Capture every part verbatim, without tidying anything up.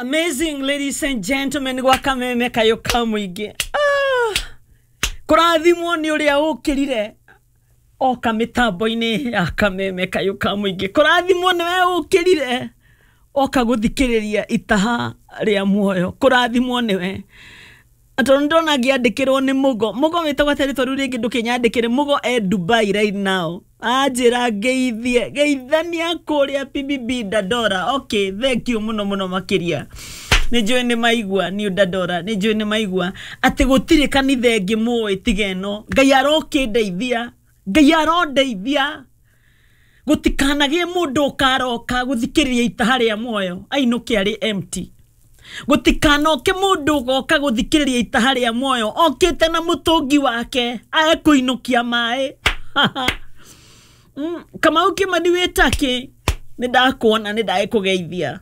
Amazing, ladies and gentlemen, gwa Kameme Kayo ka Mũingĩ. Ah, kũrathimwo nĩ ũrĩa ũkĩrire oka mĩtambo-inĩ ya Kameme Kayo ka Mũingĩ. Kũrathimwo nĩwe ũkĩrire oka gũthikĩrĩria itaha rĩa muoyo. Kũrathimwo nĩwe. Tondũ ndona ngĩandĩkĩrwo nĩ Mũgo. Mũgo wĩtagwo atĩrĩ tondũ rĩngĩ ndũkĩnyandĩkĩre. Mũgo e Dubai right now. Anjĩra ngeithie, geithania kũrĩa P B B Dandora. Okay, thank you mũno mũno makĩria. Nĩ njũĩ nĩ maigua New Dandora, nĩ njũĩ nĩ maigua atĩ gũtirĩ kanitha ĩngĩ mũĩ tiga ĩno. Ngai arokĩndeithia, Ngai arondeithia. Gũtikanagĩe mũndũ ũkaroka gũthikĩrĩria itaha rĩa muoyo ainũke arĩ empty. Gũtikanoke mũndũ ũgoka gũthikĩrĩria itaha rĩa muoyo okĩte na mũtũngi wake ekũinũkia maĩ. Mm, Kamau Kimani wĩtake, nĩ ndakuona, nĩ ndagĩkũgeithia.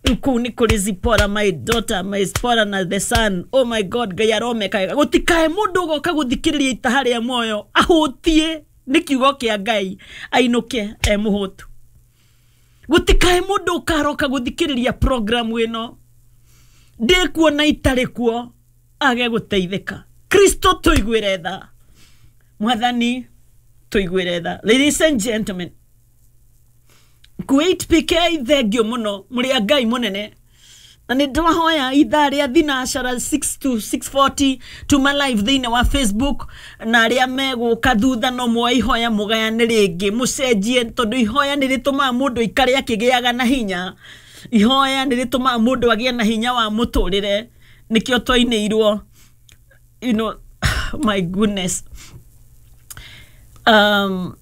Rĩu kũu nĩ kũrĩ Zipporah, my daughter, my Zipporah na the son. Oh my God, Ngai aromeka wega. Gũtikae mũndũ ũgoka gũthikĩrĩria itaha rĩa muoyo ahũtie nĩ kiugo kĩa Ngai ainũke e mũhũtu. Gũtikae mũndũ ũkaroka gũthikĩrĩria program ĩno ndĩkuo na itarĩ kuo age gũteithĩka. Kristo tũiguĩre tha, Mwathani tũiguĩre tha. Ladies and gentlemen, Kuwait P K, thengio mũno mũrĩ a Ngai mũnene. Na nĩ ndĩrahoya ithaa rĩa thinacara six to six forty tuma live thĩinĩ wa Facebook, na arĩa megũka thutha no muoe ihoya mũgayane rĩngĩ mũcenjie, tondũ ihoya nĩ rĩtũmaga mũndũ aikare akĩgĩaga na hinya. Ihoya nĩ rĩtũmaga mũndũ agĩe na hinya wa mũtũrĩre. Nĩkĩo twainĩirwo, you know, my goodness. Um,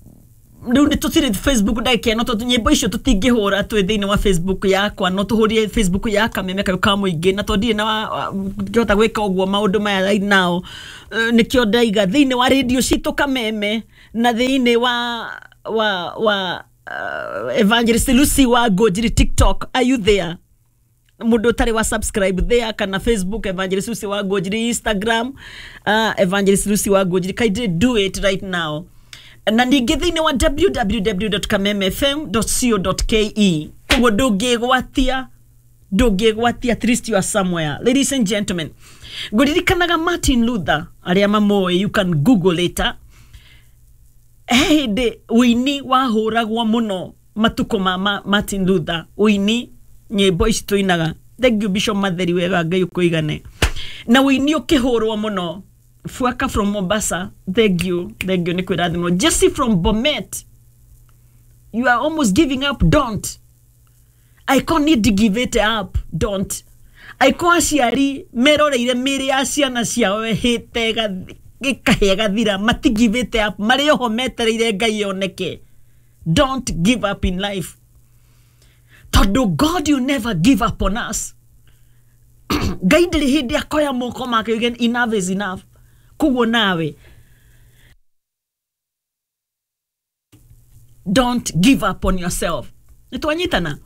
rĩu nĩ tũtirĩ Facebook ndagĩka ĩno, tondũ nyĩmbo icio tũtingĩhũra twĩ thĩinĩ wa Facebook yakwa, no tũhũrire Facebook ya Kameme Kayo ka Mũingĩ, na tondũ ndirĩ na ngĩhota gwĩka ũguo maũndũ maya right now. Eh, nĩkĩo ndaiga thĩinĩ wa radio citũ Kameme na thĩinĩ wa, wa, wa, uh, Evangelist Lucy wa Ngũnjiri TikTok. Are you there? Mũndũ ũtarĩ wa subscribe there kana Facebook Evangelist Lucy wa Ngũnjiri, Instagram, uh, Evangelist Lucy wa Ngũnjiri, kindly do it right now. Na ningĩ thĩinĩ wa w w w dot kameme f m dot co dot k e. Koguo ndũngĩgwatia, ndũngĩgwatia, at least you are somewhere. Ladies and gentlemen, ngũririkanaga Martin Luther, arĩa mamũĩ, you can google later. He hĩndĩ ũini wahũragwo mũno matukũ ma ma-, Martin Luther, ũini nyĩmbo ici tũinaga. Thank you Bishop Matheri, wega Ngai ũkũigane. Na ũini ũkĩhũrwo mũno. Fuaka from Mombasa, thank you, thank you, nĩ kwĩrathimwo. Jesse from Bomet, you are almost giving up, don't. I can't need to give it up, don't. Aiko aciari meroreire mĩĩrĩ ya ciana ciao ĩhĩte ĩkahĩa ĩgathira, mati give it up, marĩ oho metereire Ngai oneke. Don't give up in life. Tondũ God, you never give up on us. Ngai ndĩrĩ hĩndĩ akoya moko make yuge enough is enough. Koguo nawe, don't give up on yourself. Nĩ twanyitana?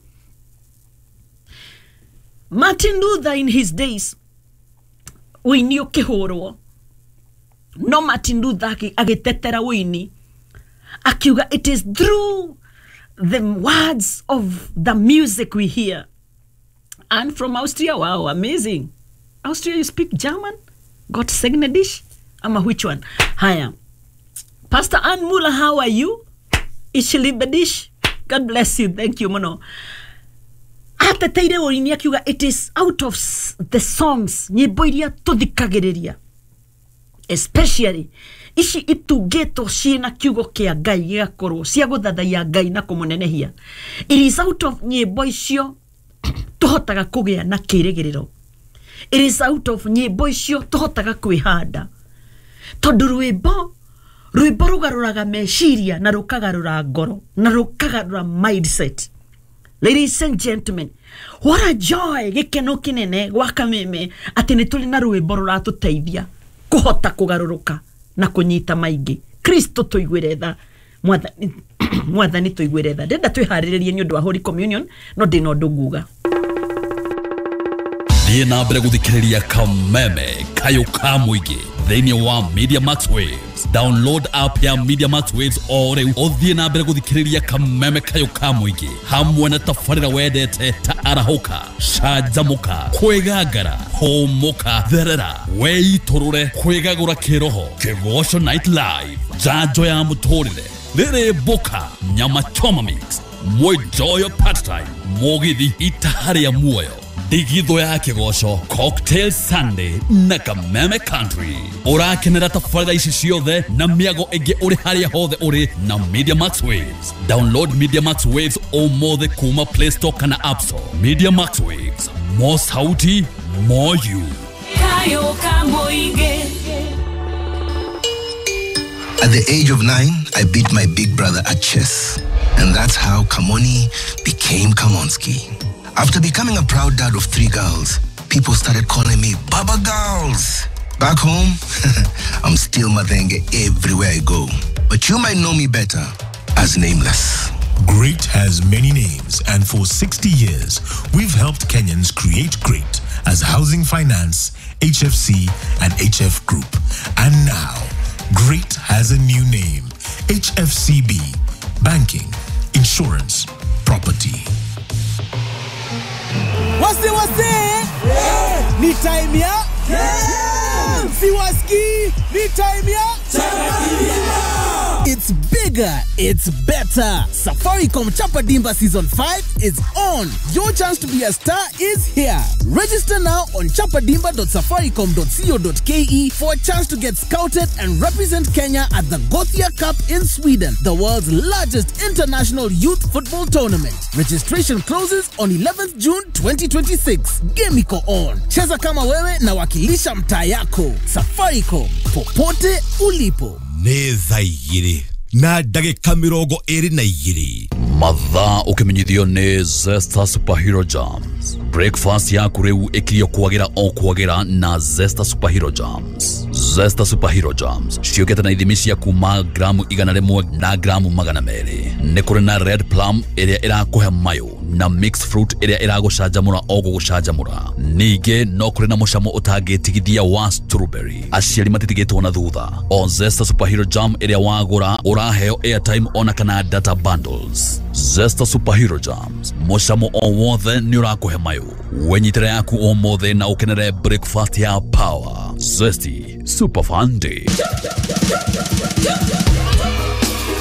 Martin Luther in his days, ũini ũkĩhũrwo, no Martin Luther agĩ-, agĩtetera ũini, akiuga it is through the words of the music we hear. And from Austria, wow, amazing. Austria, you speak German? Got Segnedish? Ama which one? Haya. Pastor Ann Muller, how are you? Ishilibedish? God bless you. Thank you, Mono. Ateteire ũini akiuga it is out of s-, the songs, nyĩmbo iria tũthikagĩrĩria, especially ici itungĩtwo ciĩna kiugo kĩa Ngai gĩgakorwo cia gũthathaiya Ngai na kũmũnenehia. It is out of nyĩmbo icio tũhotaga kũgĩa na kĩrĩgĩrĩro. It is out of nyĩmbo icio tũhotaga kwĩhanda, tondũ rwĩmbo, rwĩmbo rũgarũraga meciria na rũkagarũra ngoro na rũkagarũra mindset. Ladies and gentlemen, what a joy, gĩkeno kĩnene gwa Kameme atĩ nĩ tũrĩ na rwĩmbo rũratũteithia kũhota kũgarũrũka na kũnyita maingĩ. Kristo tũiguĩre tha, Mwathani, Mwathani tũiguĩre tha. Ndĩrenda twĩharĩrĩrie nĩ ũndũ wa Holy Communion, no ndĩna ũndũ nguga. Thiĩ na mbere gũthikĩrĩria Kameme Kayo ka Mũingĩ thĩinĩ wa Media Max Waves. Waves. Download app ya Media Max Waves o rĩu ũthiĩ na mbere gũthikĩrĩria kameme kayũ ka mũingĩ hamwe na tabarĩra wendete ta arahũka, canjamũka, kwĩgangara, hũmũka, therera, weitũrũre, kwĩgagũra kĩroho, Kĩgoco Night Live, njanjo ya mũtũrĩre, rĩrĩ mboka, nyama choma mix, mwenjoyo part time, mũgithi itaha rĩa muoyo, ndigithũ ya kĩgoco, Cocktail Sunday na Kameme Country. Ũrakenera tabarĩra ici ciothe na mĩago ĩngĩ ũrĩ harĩa hothe ũrĩ na Media Max Waves. Download Media Max Waves ũmũthĩ kuma Play Store kana App Store. Media Max Waves, more sauti, more you. Kayo Kamoige. At the age of nine, I beat my big brother at chess. And that's how Kamoni became Kamonski. After becoming a proud dad of three girls, people started calling me Baba Girls. Back home, I'm still Mathenge everywhere I go. But you might know me better as Nameless. Great has many names, and for sixty years, we've helped Kenyans create great as Housing Finance, H F C, and H F Group. And now, Great has a new name, H F C B, Banking, Insurance, Property. Wasi wasi! Yeah. Ni time ya? Yeah. Siwaski! Ni time ya? It's bigger, it's better. Safaricom Chapa Dimba Season five is on. Your chance to be a star is here. Register now on chapadimba dot safaricom dot co dot k e for a chance to get scouted and represent Kenya at the Gothia Cup in Sweden, the world's largest international youth football tournament. Registration closes on eleventh June twenty twenty-six. Game iko on. Cheza kama wewe na wakilisha mtaa yako. Safaricom, popote ulipo. Nĩ thaa igĩrĩ na ndagĩka mĩrongo ĩrĩ na igĩrĩ. Mathaa ũkĩmenyithio nĩ Zesta Superhero Jams. Breakfast yaku rĩu ĩkirio kwagĩra o kwagĩra na Zesta Superhero Jams. Zesta Superhero Jams ciũkĩte na ithimi cia kuma gramu igana rĩmwe na gramu magana merĩ. Nĩ kũrĩ na red plum ĩrĩa ĩrakũhe mayũ na mixed fruit ĩrĩa ĩragũcanjamũra o gũgũcanjamũra. Ningĩ no kũrĩ na mũcamo ũtangĩtigithia wa strawberry. Aciari matitigĩtwo na thutha. O Zesta Superhero Jam ĩrĩa wagũra ũraheo airtime ona kana data bundles. Zesta Superhero Jams, mũcamo o wothe nĩ ũrakũhe mayũ. Wenyitĩra yaku ũmũthĩ na ũkenere breakfast ya power. Zesty Super Fun Day.